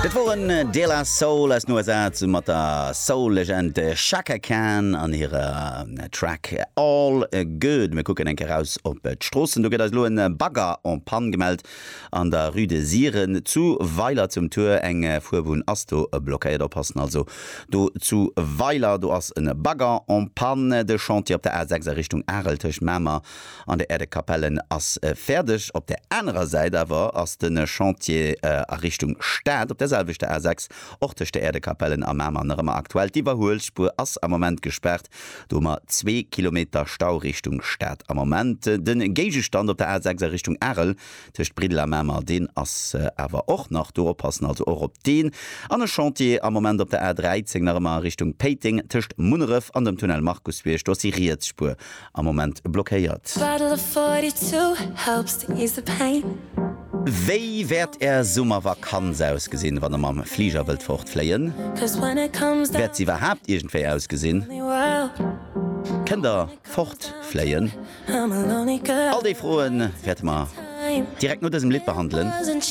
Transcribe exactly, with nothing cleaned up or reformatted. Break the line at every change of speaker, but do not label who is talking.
Dat woren De La Soul aus den U S A zesumme mat der Soul-Legend Chaka Khan an hirer Track All Good. Mir kucken eng Kéier raus op d'Stroossen. Do gëtt eis lo en Bagger en panne gemellt an der Rue de Siren zu Weiler zum Tuer. Eng Fuerbunn ass do blockéiert. Oppassen also do zu Weiler, do ass en Bagger en panne. De Chantier op der A sechs a Richtung Arel tëscht Mamer an der Erdekapellen ass fäerdeg. Op der anerer Säit awer ass de Chantier a Richtung Stad op der selwechter A sechs och tëscht der Erdekapellen a Mamer nach ëmmer aktuell. D'Iwwerhuelspuer ass am Moment gespaart. Do hu mer zwee Kilometer Stau Richtung Stad am Moment. De Géigestand op der A sechs a Richtung Arel tëscht Briddel a Mamer, deen ass awer och nach do. Oppassen also och op deen. An e Chantier am Moment op der A dräizéng nach ëmmer a Richtung Péiteng tëscht Munneref an dem Tunnel Markusbierg. Do ass déi riets Spuer am Moment blockéiert.
Bottle of forty-two helps to ease the pain.
Wéi wäert är Summervakanz ausgesinn, wann der mam Fliger wëllt fortfléien?
Cause when it comes down
Wäert se iwwerhaapt iergendwéi ausgesinn?
the world,
Kënnt der fortfléien?
I'm a lonely girl.
All déi Froen wäerte mer direkt no dësem Lidd behandelen.
Wasn't